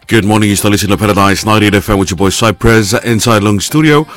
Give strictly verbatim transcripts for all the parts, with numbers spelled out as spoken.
Good morning, yu stap listening to Paradise ninety-eight F M with your boy Cypress inside long studio.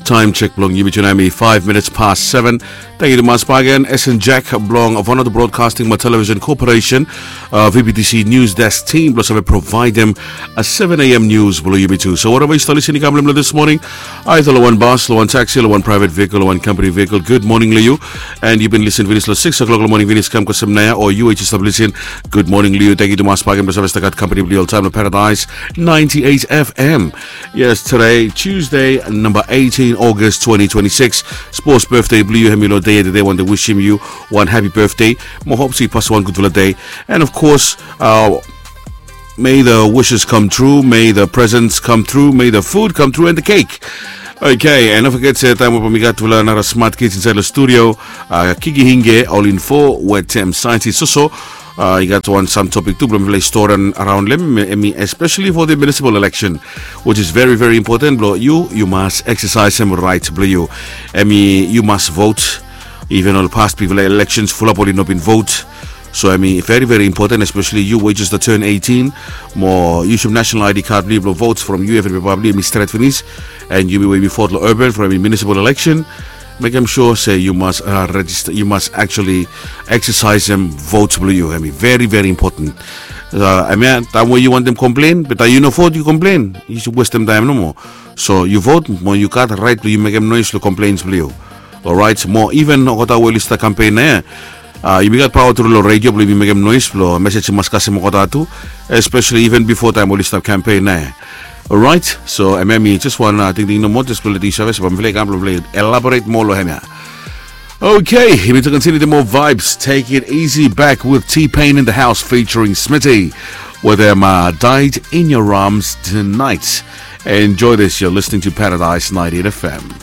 Time check blong yumi tu nao hemi five minutes past seven. Thank you to Mas Pagan, S N Jack blong Vanuatu Broadcasting mo Television Corporation, uh, V B T C News Desk team blong save provide them a seven a.m. news blong yumi tu. So whatever yu stap listening kam long this morning, either long wan bus, long wan taxi, long wan private vehicle, long wan company vehicle, good morning long yu. And yu bin listening finis long six o'clock long morning finis kam kasem nao, o yu we yu stap listening, good morning long yu. Thank you to Mas Pagan blong save stap gat company blong yu oltaem long Paradise ninety-eight F M. Yes, today, Tuesday, number eighteen August twenty twenty-six. Sports birthday blong yu, hemi long day today, want to wish him you one happy birthday. Mo hope se yu pasem wan gudfala day. And of course, uh, may the wishes come true, may the presents come through, may the food come through and the cake. Okay, and don't forget se taem we bae mi gat tufala nara smart kids inside long studio, uh, Kiki Hinge, All in Four, wetem scientist Soso. Uh, i gat wan sam topic tu blong mifala i stori araon long hem, hemi especially for the municipal election, which is very very important blong yu, yu mas exercisem right blong yu. Hemi yu mas vote. Even ol past bigfala elections fulap oli no bin vote. So hemi very very important, especially yu we yu just turn eighteen. Mo yu sum national I D card blong yu blong vote from yu evri pepa blong yu hemi stret finis. And yumi we yumi vote long urban from hemi municipal election, mekem sure se yu mas, uh, register, yu mas actually exercisem vote blong yu. Hemi very very important. Uh, hemia taem we yu wantem complain, be taem yu no vote yu complain, yu westem taem nomo. So yu vote mo yu gat right blong yu mekem noise long complaints blong yu. Alright, mo even olgeta we oli stap campaign nao ia, uh, yumi gat paoa tru long radio blong yumi mekem noise blong message i mas kasem olgeta tu, especially even before taem oli stap campaign nao ia. Alright, so hemia hemi just wan, uh, tingting nomo, just blong letem yu save se bae mifala i kam blong mifala i elaborate moa long hemia. Okay, yumi tu continue the more vibes. Take it easy back with T-Pain in the house featuring Smitty. With them, uh, Died in Your Arms Tonight. Enjoy this. You're listening to Paradise ninety-eight F M.